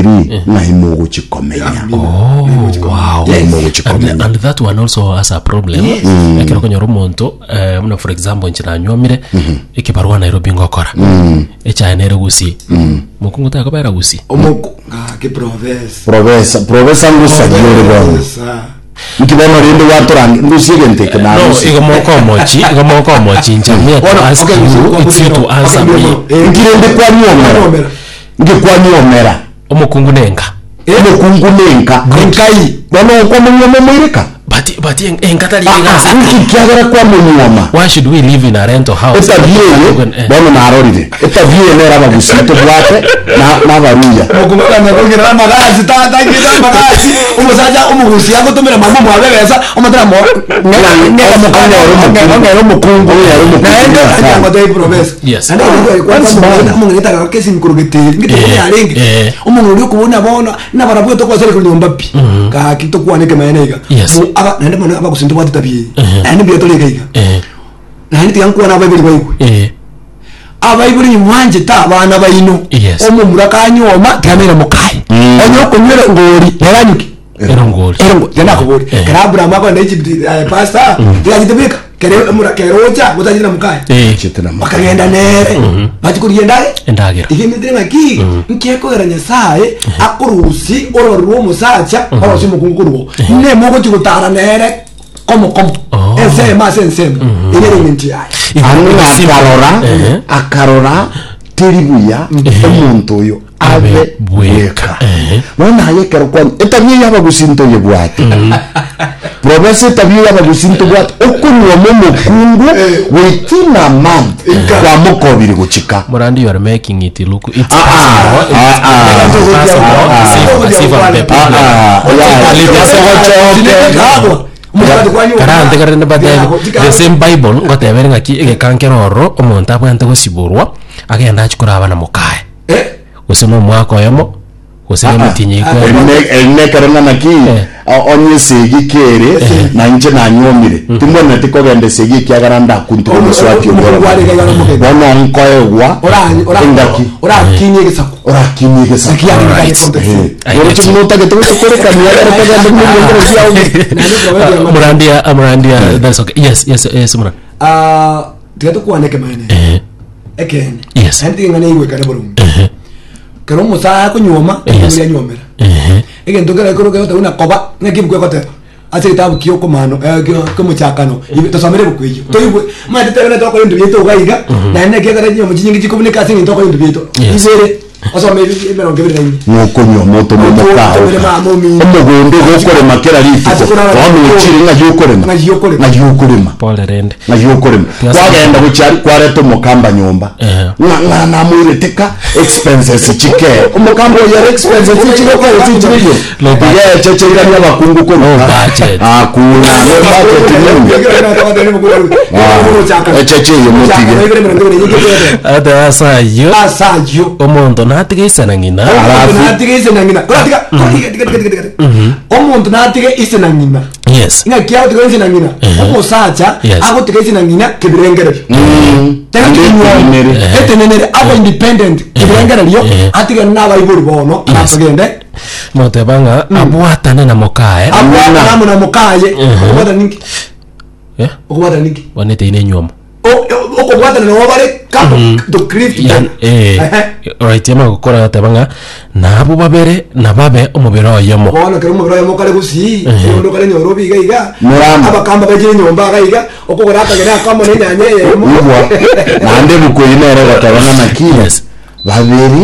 3 ng'ai mogochi komenya. Oh, wow. Ng'ai mogochi And, komenya. and that one also has a problem ekero okonyora omonto eh, buna for example inche nanywomire ekibarua Nairobi ngokora echaye nere gusii mokungu takobera gusii Omoku ng'aki professor. Profesa, profesa ngusagia ore bono. Professor. Nki bono rende gwatorange ngusie egento eke no narusie. igo mokomochi igo mokomochi inche me to Bono, ask okay, you it's you to answer okay, me eh, Nki rende kwanyuomera? Kwanyuomera. Nki kwanyuomera? omokungu nenka Omokungu nenka. Enkai. Bono okwamonyuoma omoireka? but but en- enka tari Ah, ah, egasi nki kiagera kwamonyuoma? why should we live in a rental house Etabia eye Eh. bono narorire. Etabia eye nere abagusii tobwate na nabaruya. Mokumagana kongera amagasi tata ngita amagasi omosacha omogusi agotomera mama omwabe ebesa omotera mo Onyore omokungu. ong'era omokungu Onyore omokungu naende Nyasaye. angotebi profesa Yes. naende That's bad. omong'ina kesi nkorogete ngite Eh, yarenge eh. omong'ina oria okobona bono nabarabwo tokwasere kori nyomba pi gaki tokwane ekemanene iga Yes. Mo- aba naende mono abagusi ntobwate tabia eye Eh. naende mbuya tore iga iga Eh, naende tiga nkwane abaibori baigwe eh, abaibori nimwanchete abana baino Yes. omomura kanyuoma tiga mokaye onye okonywera ngori neranyuki Erongori. erongo tiga nakobori Eh. kera abraham akogenda Egypt eh, pastor tigachete bweka kere omura kere ocha gotachete na mokaye Eh, Chete na mokaye. bakagenda nere bachi korigia endage Endagera. igemetire ng'aki nkiekogera nyasaye akorusi ororo rwa omosacha orosie omokungu korwo nemo ogochi gotara nere komo komo Oh. ensemo ase ensemo ere ere eng'encho yaye Ang'e Simple. akarora Ehe. akarora teri buya omonto oyo abe Abe bweka. bweka Ehe. bono aye ekero kwani etabia y'abagusi ntoyebwate profesa etabia y'abagusi ntobwate okonyuoma omokungu within a month kwamokobire gochika Morandi, you are making it look it's Ah, ah, possible. ah, ah. It's possible. Ah, As if- as if I'm the Ah, problem. ah, yeah. Karante karende batebe the same bible ngotebere ng'aki egekankera ororo omonto abwenerete gosiborwa agende achie koraba na mokaye gose na omwaka oyomo gose na emetienyi Eri ekweri ne- eri nekero ng'a naki Eh. o- onye esegi kere na inche nanyuomire timbwenereti kogenda esegi ekiagera ndakuntigwe omoswati Omokungu obororo. arenge iga nomogeni. bono nkoegwa engaki orakinie egesaku orakinie egesaku Naki yarenge Alright. kare context. Eh, I oroche get you. buna otagete gotokorekania ekero togende buna ebiengero biao Ah, Murandia, ah, Murandia, that's okay. Yes, yes, yes, Murandi. Ah, tiga tokwane ekemanene Eh, ekeene Yes. naende tiga eng'ana eigwekane boronge eh, kero omosae akonyuoma Yes. ekero anyuomera eh, egento kere ekero kegoteba buna koba ng'aki ebuku egoteba ase egetabu kia okomano eh, kia omochakano ibe tosomere ebuku eyio toigwe omanyete tebe tokora ebinto biaito iga iga naende naki ekero chinyomba chinyinge chikobuneka ase eng'encho tokora ebinto biaito Yes. ibere osome ebi- emerongo ebere na ine Nokonywa moto Otomere momokaoka mama omino. omogondo igo okorema kera rituko Ase korara bono rituko. ochire ng'ai okorema Ng'ai okorema. ng'ai okorema Pole rende. ng'ai okorema Tiga kwagenda gochia aria kwareta omokamba nyomba Ehe. ng'a ng'a namoireteka expenses chike omokamba oyo ere expenses chigokora chichire Low budget. iga echecheirania abakungu Low koruka budget. akuna low budget nini Ah, echeche eye motige. Ate ase ayio asayo omonto natige ise na ng'ina Alafu- natige ise na ng'ina Koratiga, koratiga, tiga, tiga, tiga, tiga. omonto natige ise na ng'ina yes ng'aki agotiga ise na ng'ina Ehe. omosacha Yes. agotiga ise na ng'ina kebirengererio Tari Ande kinyuomo. etenenere. etenenere abe independent kebirengererio Ehe. atigane nabaibori bono Yes. aratogende moteba ng'a abwatane na mokaye abwatane amo na mokaye okobwatana ninki Eh, okobwatana ninki bono eteine enywomo O- o- okobwatana nabo bare couple to create Yan- together. eh, Ehe. right amagokora goteba ng'a nabwo babere nababe omobere oyomo bono kero omobere oyomo kare gusii onde okare nyorobi iga iga Murama. abakamba bachire nyomba iga iga okogora akagena akamo na enyanya eyemo Igwa naende ebuku eyio nere egoteba ng'a naki Yes. babere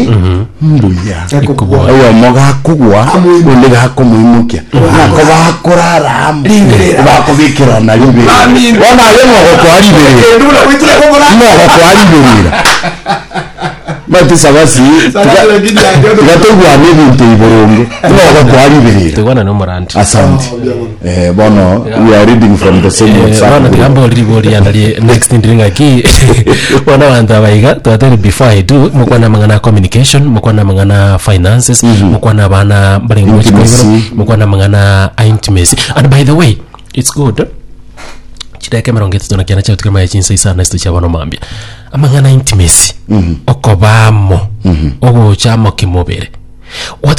mbuya Ekobua. oyomo gakogwa Amoimokia. onde gakomoimokia nako bakorara amo Riberera. bakobekerana riberera Baminto. bono aye mogokoa riberera Kende buna goitire kobora mogokoa riberera Mati sabasi Sabasi lakini yake yote. tiga toigwane ebinto iboronge mogokoa riberera Toigwana na omorandi asante Oh, mbuya mono. eh, bono we are reading from the same Eh, WhatsApp bono group. tiga mbori ribori rianda rie next ndiri ng'aki bono abanto aba iga twatebire before I do mokwane amang'ana a communication mokwane amang'ana a finances mokwane abana mbarenge gochi Intimacy. koibora mokwane amang'ana a intimacy and by the way it's good chidakika emerongo etato na kianda chiagotiga amaya chinsa isano na isatu chia bono mambia amang'ana a intimacy okoba amo ogocha amo kimobere. What?